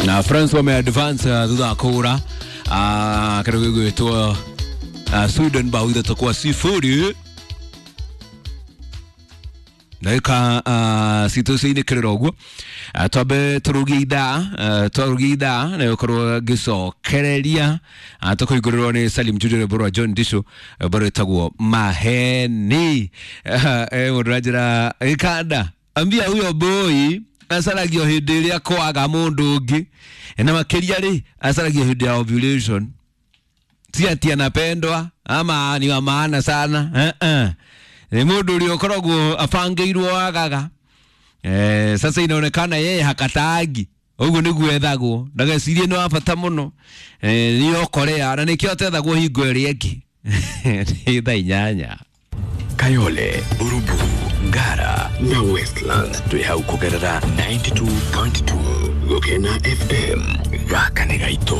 Na France wame advance thutha wa kũhũra kĩndũ gĩgwĩtwo Sweden bao 3-0. Ndagĩka citũ ciinĩkĩrĩra ũguo, twambe tũrũgie ithaa, twarũgie ithaa na gũkorwo ngĩcokereria, tũkũhingũrĩrwo nĩ Salim Jude, rwĩmbo rwa John Disho, rwĩmbo rwĩtagwo Maheni. Mũndũ ranjĩra gĩkanda, ambia huyo boy acaragio hĩndĩ ĩrĩa kwaga mũndũ ũngĩ, na makĩria rĩ acaragio hĩndĩ ya ovulation. Si ati anapendwa ama ni wa maana sana, eh. Ni mũndũ ũrĩa ũkoragwo abangĩirwo wagaga. Sasa inaonekana yeye hakatagi ũguo nĩguo ethagwo, ndagecirie nĩ wa bata mũno, nĩ okorea na nĩkĩo atethagwo hingo ĩrĩa ĩngĩ. Nĩ thaa 8. Kayole, Buruburu, Ngara na Westlands twĩ hau kũgerera 92.2 Gũkena FM. Gaka nĩ gaitũ.